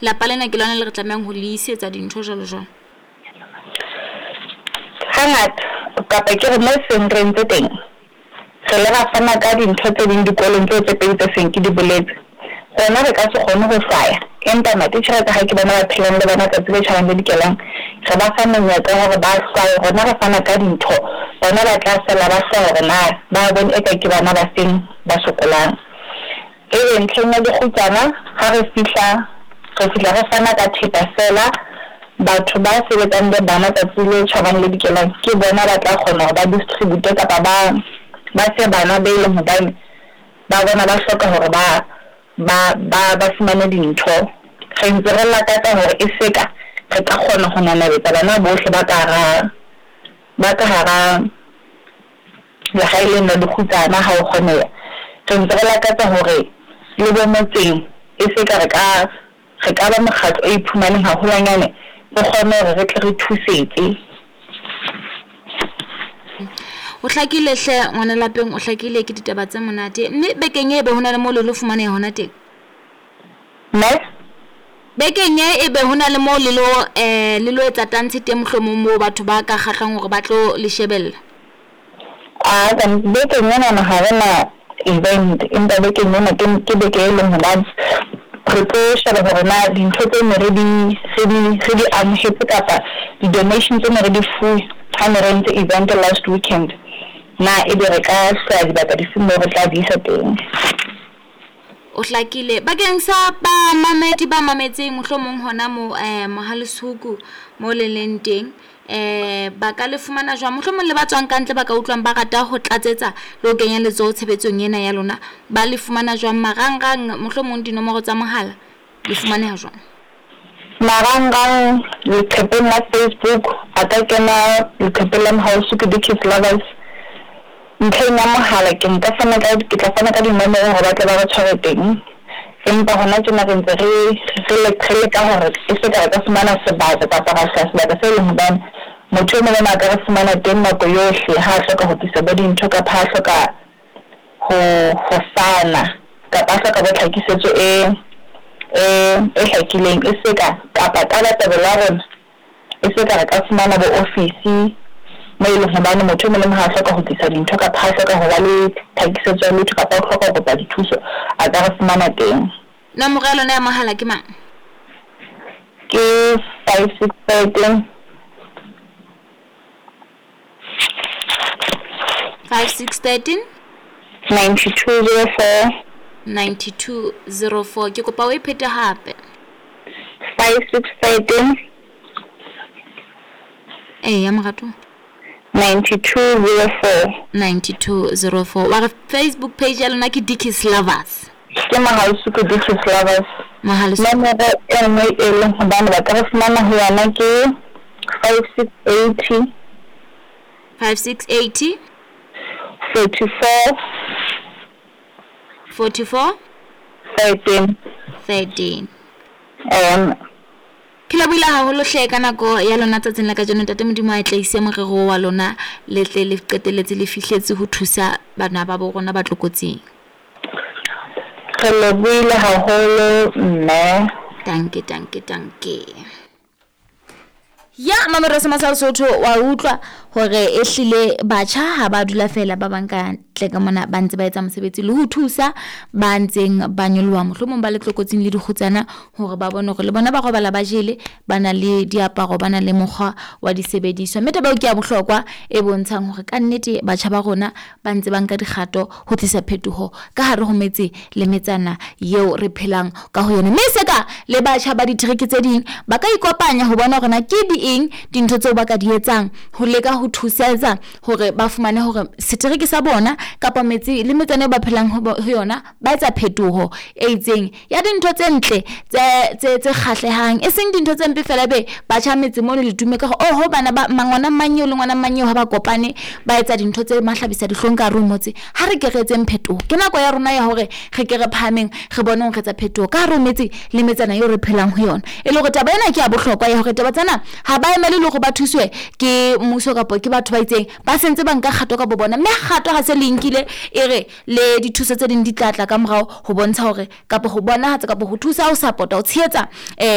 Lapa lena ke lona le re tlamehang ho le isetsa dintho jwalo jwalo. Hangata kapa ke re mo seng re entse teng, re ile ra fana ka dintho tse ding dikolong tseo tse pedi tse seng ke di boletse. Rona re ka se kgone ho hlwaya, empa matitjhere ka ha ke bona ba phelang le bona tsatsi le tjhabang le dikelang, re ba fa monyetla wa hore ba hlwaye. Rona re fana ka dintho, bona ba tla sala ba hlwaya hore na ba bone eka ke bana ba feng ba sokolang. Ebe ntlheng ya dikgutsana ha re fihla, re fihla re fana ka thepa feela. Batho ba sebetsang le bana tsatsi le tjhabang le dikelang ke bona ba tla kgona hore ba distribute kapa ba fe bana be leng hobane ba bona ba hloka hore ba fumane dintho. Re ntse re lakatsa hore e se ka re ka kgona ho nanabetsa bana bohle ba ka hara, ba ka hara lehae leno la dikgutsana ha ho kgoneha. Re ntse re lakatsa hore le bo motseng e se ka re ka ba mokgatlo o iphumaneng haholwanyane, re kgone hore re tle re thusetse. O hlakile hle ngwana lapeng, o hlakile ke ditaba tse monate. Mme bekeng e be ho na le moo le lo fumaneha hona teng? Mme? Bekeng e ebe ho na le moo le lo le lo etsa tantshe teng mohlomong moo batho ba ka kgahlang hore ba tlo le shebella? A bekeng enana ha re na event, empa bekeng ena ke beke e leng hobane re tlo sheba hore na dintho tse ne re di amohetse kapa di-donation tse ne re di fuwe ha ne re entse event last weekend, na ebe re ka hlwaya dibaka difeng moo re tla di isa teng. O hlakile. Bakeng sa bamamedi ba mametseng mohlomong hona mo Mohale'shoek mo le leng teng, ba ka le fumana jwang? Mohlomong le ba tswang ka ntle ba ka utlwang ba rata ho tlatsetsa le ho kenya letsoho tshebetsong ena ya lona, ba le fumana jwang? Marangrang mohlomong dinomoro tsa mohala le fumaneha jwang? Marangrang leqhepeng la Facebook, a ka kena leqhepeng la Mohale'shoek Dickies Lovers. Ntlheng ya mohala ke nka fana ka, ke tla fana ka dinomoro hore ba tle ba re tshware teng. Empa hona tjena re ntse re leka hore e se ka re ka fumana sebaka kapa ra hlwaya sebaka se leng hobane motho e mong le mong a ka re fumana teng nako yohle ha a hloka ho tlisa bo dintho kapa ha a hloka ho fana kapa a hloka bo tlhakisetso e hlakileng. E se ka kapa tabatabelo ya rona e se ka re ka fumana bo ofisi mo e leng hobane motho e mong le mong ha a hloka ho tlisa dintho kapa ha a hloka ho ba le tlhakisetso ya letho kapa o hloka ho kopa dithuso, a ka re fumana teng. Nomoro ya lona ya mohala ke mang? Ke 5613 5613 9204 9204. Ke kopa o e phete hape. 5613 Eya morato. 9204 9204. Wa re Facebook page ya lona ke Dickies Lovers. Ke Mohale'shoek Dickies Lovers. Mohale'shoek. Nomoro e nngwe e leng hobane ba ka re fumana ho yona ke 5680 5680 44 44 13 13. Ke lebohile haholo hle ka nako ya lona tsatsing la kajeno. Ntate Modimo a tlaise morero wa lona, le tle le qetelletse le fihletse ho thusa bana ba bo rona ba tlokotsing. Re lebohile haholo mme. Danke, danke, danke. Ya mamero se masal Sotho wa utlwa hore e hlile batjha ha ba dula fela ba bang ka ntle ka mona ba ntse ba etsa mosebetsi le ho thusa ba ntseng ba nyoloha mohlomong ba le tlokotsing le dikgutsana hore ba bone hore le bona ba robala ba jele, ba na le diaparo, ba na le mokgwa wa disebediswa. Mme taba eo ke ya bohlokwa e bontshang hore ka nnete batjha ba rona ba ntse ba nka dikgato ho tlisa phetoho ka hare ho metse le metsana eo re phelang ka ho yona. Mme se ka le batjha ba ditereke tse ding ba ka ikopanya ho bona hore na ke di eng dintho tseo ba ka di etsang ho leka ho thusetsa hore ba fumane hore setereke sa bona kapa metse le metsana eo ba phelang ho yona ba etsa phetoho e itseng ya dintho tse ntle tse kgahlehang, e seng dintho tse mpe fela be batjha metse mono le tume ka hore oho bana ba ngwana mang eo le ngwana mang eo ha ba kopane ba etsa dintho tse mahlabisa dihlong ka hare ho motse. Ha re ke re etseng phetoho, ke nako ya rona ya hore re ke re phahameng re bone hore re etsa phetoho ka hare ho metse le metsana eo re phelang ho yona. E le hore taba ena ke ya bohlokwa ya hore taba tsena ha ba emele le hore ba thuswe ke mmuso kapa kapo ke batho ba itseng ba sentse ba nka kgato ka bo bona, mme kgato ha se le nkile e re le dithuso tse ding di tla tla ka morao ho bontsha hore kapo ho bonahatsa kapo ho thusa ho support-a ho tshehetsa.